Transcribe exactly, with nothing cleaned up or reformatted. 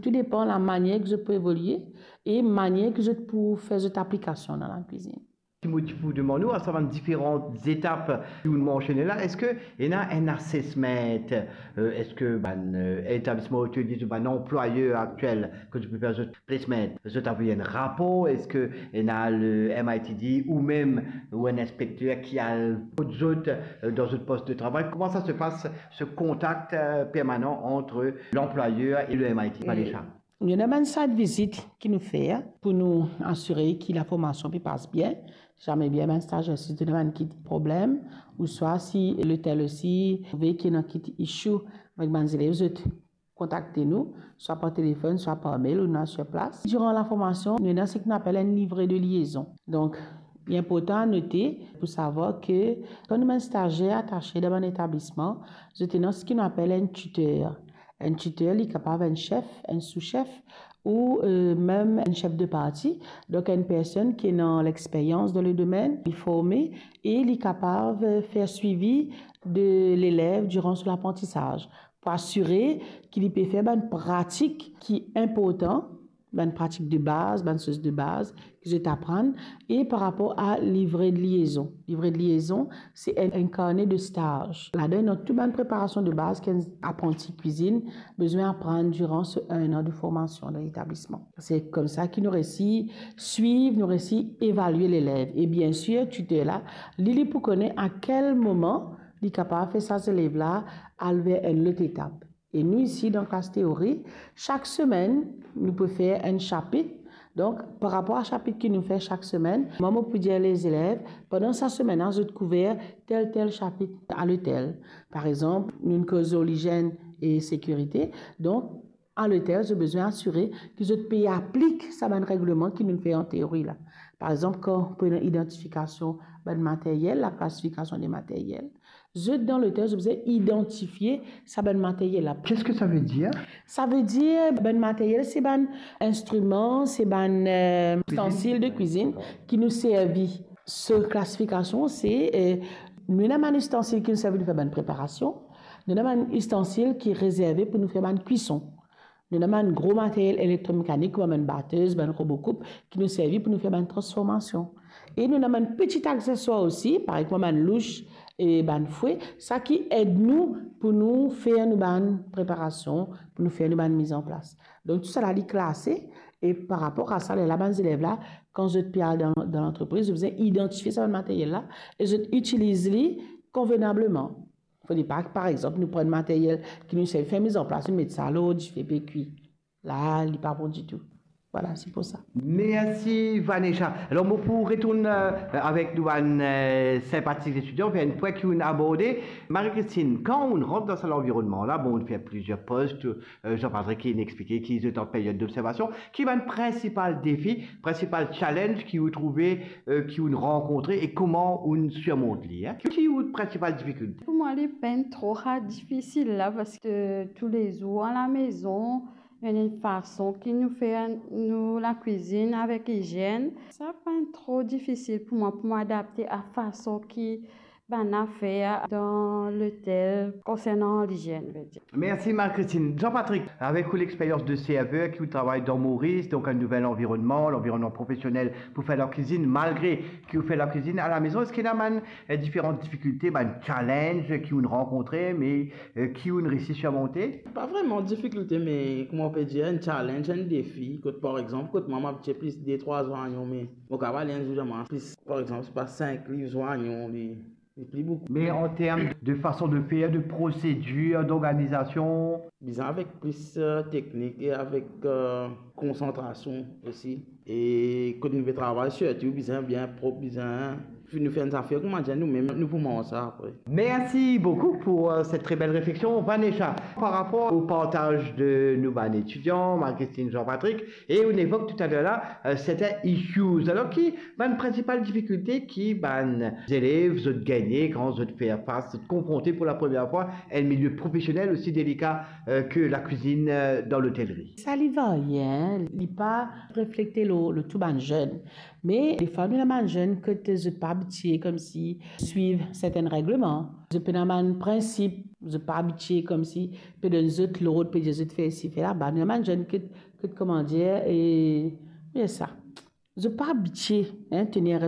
Tou depan lamanier ki zot pou evolie e manier ki zot pou fer zot aplikasion dan lakwizinn. Ki mo ti pou demann ou, a sa bann diferan etap ki ou mansione la, eski ena enn assessment? Euh, eski bann, euh, etablisman otelye, bann anplwayer aktiel, kot zot pe fer zot placement, zot avoy enn rapor? Eski ena le M I T D ou mem ou enn inspekter ki al kot zot, euh, dan zot pos de travay? Kouma sa se pas, se kontak, euh, permanan ant lanplwayer e le M I T, Vanessa? Nou ena bann site visit ki nou fer pou nou asire ki laformasion pe pas bien. Zame bien bann stazer, si ena bann ki problem, ouswa si lotel osi trouve ki ena ki issue avek bann zelev, zot kontakte nou, swa par telefonn, swa par mail, ou nou la sir plas. Diran laformasion, nou ena seki nou apel enn livre de liezon. Donk, li inportan a note pou savwar ki kan nou bann stazer atase dan bann etablisman, zot ena seki nou apel enn titer. Enn titer, li kapav enn sef, enn sousef, ou, euh, mem enn sef de parti. Donk, enn personn ki ena lexperyans dan le domenn, li forme e li kapav, euh, fer swivi de lelev diran so laprantisaz, pou asire ki li pe fer bann pratik ki inportan, bann pratik de baz, bann soz de baz ki zot aprann. E par rapor a livre de liezon, livre de liezon, se enn, enn karne de staz. Ladan ena tou bann preparasion de baz ki enn apranti kwizinn bizin aprann diran so enn an de formasion dan letablisman. Se koumsa ki nou resi swiv, nou resi evalie lelev. E biensir, titer la, li, li pou kone a kel moman li kapav fer sa zelev la al ver enn lot etap. E nou isi, dan klas teori, sak semenn, nou pe fer enn sapit. Donk, par rapor a sapit ki nou fer sak semenn, mwa, mo pou dir lezelev, pandan sa semenn la, zot kouver tel, tel sapit a lotel. Par exanp, nou koz lor lizenn e sekirite. Donk, a lotel, zot bizin asire ki zot pe aplik sa bann regleman ki nou fer an teori la. Par exanp, kan pou ena idantifikasion bann materyel, laklasifikasion de materyel, zot dan lotel, zot bizin idantifie sa bann materyel la. Qu'est-ce que ça veut dire? Savedir, bann materyel, se bann instriman, se bann, euh, istansil de kwizinn ki nou servi. So klasifikasion, se, euh, nou ena bann istansil ki nou servi pou fer bann preparasion, nou ena bann istansil ki rezerve pou nou fer bann kwison. Nou ena bann gro materyel elektromekanik, kouma bann batez, bann robo koup, ki nou servi pou nou fer bann transformasion. E nou ena bann peti akseswar osi, parey kouma bann louch e bann fwe, sa ki ed nou pou nou fer nou bann preparasion, pou nou fer nou bann mizanplas. Donk, tou sa la, li klase, e par rapor a sa, lerla bann zelev la, kan zot pe al dan, dan lantrepriz, zot bizin idantifie sa bann materyel la, e zot itiliz li konvenableman. Fode pa, par exanp, nou pran materyel ki nou servi fer mizanplas, nou met sa lor dife, pe kwi. La, li pa bon ditou. Vwala, se pou sa. Mersi, Vanessa. Alor, mo pou retourn, euh, avek nou bann, euh, sinpatik etidian, fer enn pwin ki ou'nn aborde. Marie-Christine, kan ou'nn rant dan sa lanvironnman la, bon, ou'nn fer plizier post, euh, Jean-Patrick inn explike ki zot an peryod d'observasion, ki bann prinsipal defi, prinsipal challenge ki ou trouve, euh, ki ou'nn rankontre e kouma ou'nn sirmont li, hein? Ki ou prinsipal difikilte? Pou mwa, li pa'nn tro difisil la, parski toulezour alamezon, nou ena enn fason ki nou fer nou lakwizinn avek lizenn. Sa pa'nn tro difisil pou mwa, pou mo adapte a fason ki bann afer dan lotel konsernan lizenn, vedir. Mersi, Marie-Christine. Jean-Patrick, avek ou lexperyans de server ki ou travay dan Moris, donk enn nouvel lanvironnman, lanvironnman profesionel pou fer lakwizinn, malgre ki ou fer lakwizinn alamezon, eski ena bann, euh, diferan difikilte, bann challenge ki ou'nn rankontre, me, euh, ki ou'nn resi sirmonte? Pa vreman difikilte, me kouma ou pe dir, enn challenge, enn defi. Kot, par exanp, kot mwa, mo abitie plis de trwa zwayon, me mo kapav ale enn zour, zame plis, par exanp, se pa sink liv zwayon, li, li pli boukou. Me an term de fason de fer, de prosedir, d'organizasion? Bizin avek plis, euh, teknik e avek, euh, konsantrasion osi. E kot nou pe travay, sirtou bizin bien prop, bizin nou fer enn zafer, kouma dir, nou mem, nou pou manz sa apre. Merci beaucoup pour, euh, cette très belle réflexion, Vanessa. Par rapport au partage de nou bann etidian, Marie-Christine, Jean-Patrick, e ou'nn evok toutalèr la, euh, serten issues. Alor, ki bann prinsipal difikilte ki bann zelev zot gagne kan zot fer fas, zot konfronte pou la première fois enn milieu professionnel aussi délicat, euh, que la cuisine, euh, dans l'hôtellerie? Sa li varie, hein, li pa reflekte lor, lor tou bann zenn. Me defwa nou ena bann zenn kot zot pa abitie koumsi swiv sertin regleman. Zot pena bann prinsip, zot pa abitie koumsi pe donn zot lord, pe dir zot fer isi, fer laba. Nou ena bann zenn kot, kot, kouma dir, e, e sa. Zot pa abitie, hein, tenir